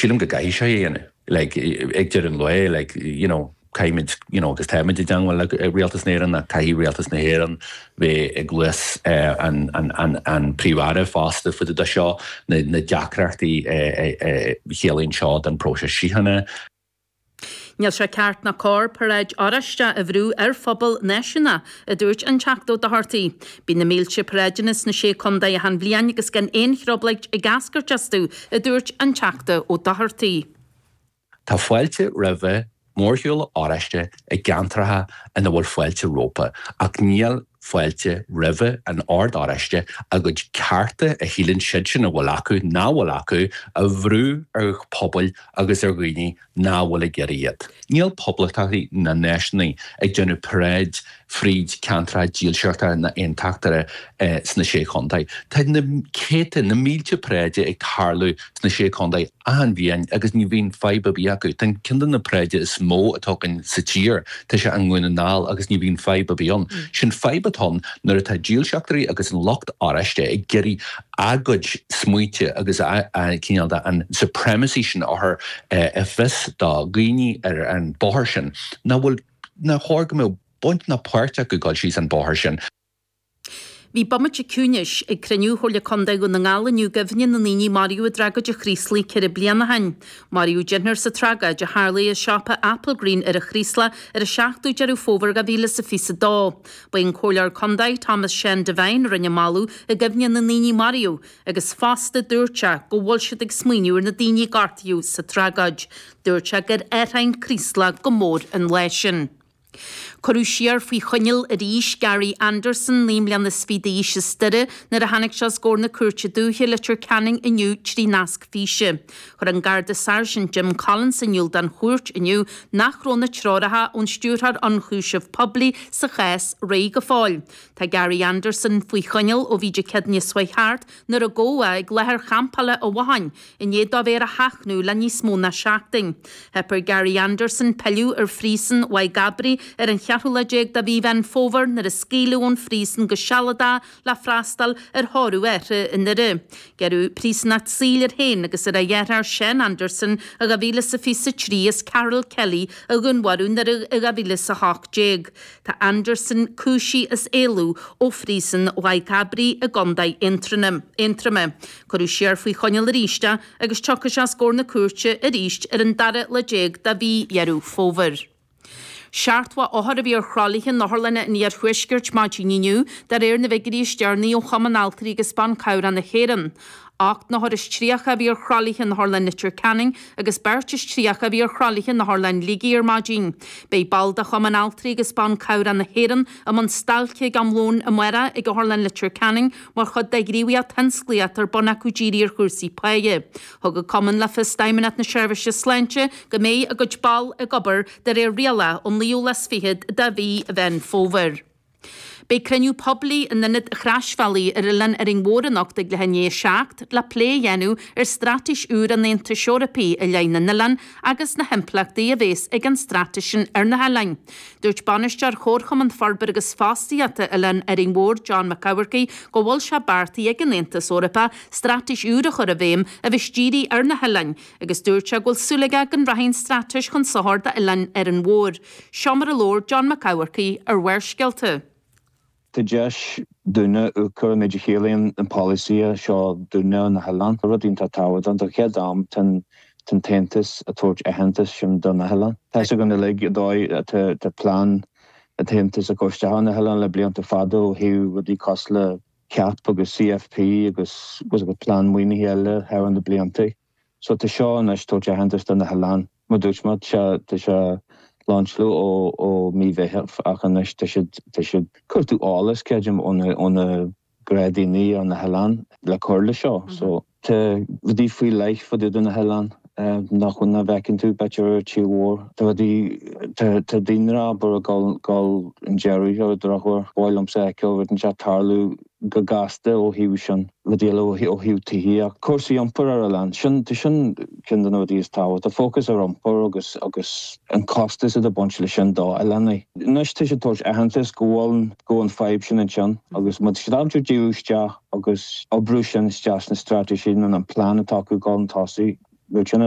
Sílim go gcaithfidh sé é a dhéanamh. Like, ag deireadh an lae, like, you know, caithfimid, you know, agus táimid i dteangmháil le Rialtas na hÉireann ach caithfidh Rialtas na hÉireann bheith i gcluas an, an, an, an Príomh-Aire fosta fá dtaobh de seo, na, na deacrachtaí a chiallaíonn seo don próiseas síochána. Níl sé ceart ná cóir paráid Oráisteach a bhrú ar phobal náisiúnach, a dúirt an Teachta Ó Dochartaigh. Bíonn na mílte paráideanna sna Sé Contae achan bhliain agus gan aon thrioblóid ag eascairt astu, a dúirt an Teachta Ó Dochartaigh. Tá fáilte roimhe mórshiúl Oráiste i gceantracha ina bhfuil fáilte rompu, ach níl fáilte roimhe an Ord Oráiste a gcuid cearta a shíleann siadsan a bhfuil acu, nach bhfuil acu, a bhrú ar phobail agus ar dhaoine nach bhfuil ag iarraidh iad. Níl poblachtánaigh ná náisiúnaigh ag déanamh paráid fríd ceantracha dílseachta ná aontachtaithe sna Sé Chontae. Tá na céadta, na mílte paráide ag tarlú sna Sé Chontae achan bhliain agus ní bhíonn fadhb ar bith acu. Tá ceann de na paráide is mó atá againn sa tír, tá sé i nDún na nGall agus ní bhíonn fadhb ar bith ann. Sin fadhb atá ann nuair atá dílseachtóirí agus an lucht oráiste ag iarraidh a gcuid smaointe agus a cineál de an supremacy sin a chur i bhfios do dhaoine ar an bóthar sin nach bhfuil, nár chóir go mbeadh baint ná páirt acu dul síos an bóthar sin. Bhí bomaite ciúnais ag cruinniú Chomhairle Contae Dhún na nGall inniu i gcuimhne na ndaoine a maraíodh i dtragóid an Chraoslaigh 4 bliana ó shin. Maraíodh deichniúr sa tragóid a tharlaigh i siopa Applegreen ar an Chraoslach ar an 7ú Deireadh Fómhair 2022. Ba é an Comhairleoir Contae, Thomas Seán Devine, a rinne moladh i gcuimhne na ndaoine a maraíodh agus fosta dúirt sé go bhfuil siad ag smaoineamh ar na daoine a gortaíodh sa tragóid. Dúirt sé gur athraigh an Craoslach go mór an lá sin. Cuireadh siar faoi choinneáil arís Gary Anderson, 29 mbliana d'aois as Doire, nuair a tháinig sé os comhair na Cúirte Dúiche, Leitir Ceanainn inniu trí nasc físe. Chuir an Garda Sáirsint Jim Collins in iúl don chúirt inniu nach raibh na treoracha ón Stiúrthóir Ionchúiseamh Poiblí sa chás réidh go fóill. Tá Gary Anderson faoi choinneáil ó bhí Dé Céadaoine seo chuaigh thart nuair a gabhadh é ag láthair champála an Bhotháin i ndiaidh dó bheith ar a sheachnadh le níos mó ná seachtain. Theip ar Gary Anderson pilleadh ar phríosún Mhaigh gCabraí ar an cheathrú lá déag de mhí Mheán Fómhair nuair a scaoileadh ón phríosún go sealadach le freastal ar thórramh a athar i nDoire. Gearradh príosúnacht saoil air féin agus ar a dheartháir Seán Anderson i 2023 as Carol Kelly a dhúnmharú i nDoire i 2018. Tá Anderson cúisithe as éalú ó phríosún Mhaigh gCabraí i gContae Aontroma. Cuireadh siar faoi choinneáil arís é agus tiocfaidh sé os comhair na cúirte arís ar an dara lá déag de mhí Dheireadh Fómhair. 70 othar a bhí ar thralaithe in otharlanna an iarthuaiscirt maidin inniu, de réir na bhfigiúirí is deireanaí ó Chumann Altraí agus Ban Cabhrach na hÉireann. 38 n-othar a bhí ar thralaithe in Otharlann Leitir Ceanainn agus beirt is 30 a bhí ar thralaithe in Otharlann Shligigh ar maidin. Beidh baill de Chumann Altraí agus Ban Cabhrach na hÉireann i mbun stailce ag am lóin amárach ag Otharlann Leitir Ceanainn mar chuid de ghníomhaíocht thionsclaíoch atá ar bun acu dírithe ar chúrsaí páighe. Thug an Cumann le fios d'Fheidhmeannacht na Seirbhíse Sláinte go mbeidh a gcuid ball ag obair de réir rialach ón naoú lá is fichead de mhí Mheán Fómhair. Beidh cruinniú poiblí in Ionad an Chroisbhealaigh ar Oileán Árainn Mhór anocht ag leath i ndiaidh 7 le plé a dhéanamh ar straitéis úr an Aontais Eorpaigh i leith na n-oileán agus na himpleachtaí a bhéas ag an straitéis sin ar na hoileáin. Dúirt Bainisteoir Chomharchumann Forbartha agus Fostaíochta Oileán Árainn Mhór, John Mac Eamharcaigh, go bhfuil sé beartaithe ag an Aontas Eorpach straitéis úr a chur i bhfeidhm a bheas dírithe ar na hoileáin agus dúirt sé go bhfuil súil aige go rachaidh an straitéis chun sochair d'Oileán Árainn Mhór. Seo mar a labhair John Mac Eamharcaigh ar Bharrscéalta. Tá deis dúinne amharc ar an méid a chiallaíonn an polasaí seo dúinne ar na hoileáin. Rud iontach tábhachtach don chéad am tá an tAontas ag tabhairt aitheantas sin do na hoileáin. Tá fhios againn uilig an dóigh atá plean an tAontas ag cur isteach ar na hoileáin le blianta fada ó thaobh rudaí cosúil le CAP agus CFP agus plean maoinithe eile thar na blianta. So tá seo anois tabhairt aitheantas do na hoileáin. Mar dúirt mé, tá sé lainseáladh ó ó mí Mheithimh ach anois tá siad tá siad cuartú eolas creidim ó na ó na gnáthdhaoine ar na hoileáin le cur le seo. So tá rudaí faoi leith fá dtaobh de na hoileáin nach nach bhfeiceann tú b'fhéidir ar an tír mhór. Tá rudaí tá tá daonra abair ag dul dul chun deiridh ar an drochuair. Ba mhaith liomsa a fheiceáil rud inteacht tarlú go gasta ó thaobh sin, rudaí eile ó thaobh tithíocht, cúrsaí iompair ar oileán, sin, tá sin ceann de na rudaí is tábhachtaí, fócas ar iompar agus, agus an costas atá ag baint leis sin do oileánaigh. Anois tá siad ag tabhairt aitheantas go bhfuil, go bhfuil an fadhb sin ansin agus má tá siad ábalta díriú isteach agus oibriú sin isteach sna straitéisí nó an plean atá acu dul chun tosaigh, bheadh sin.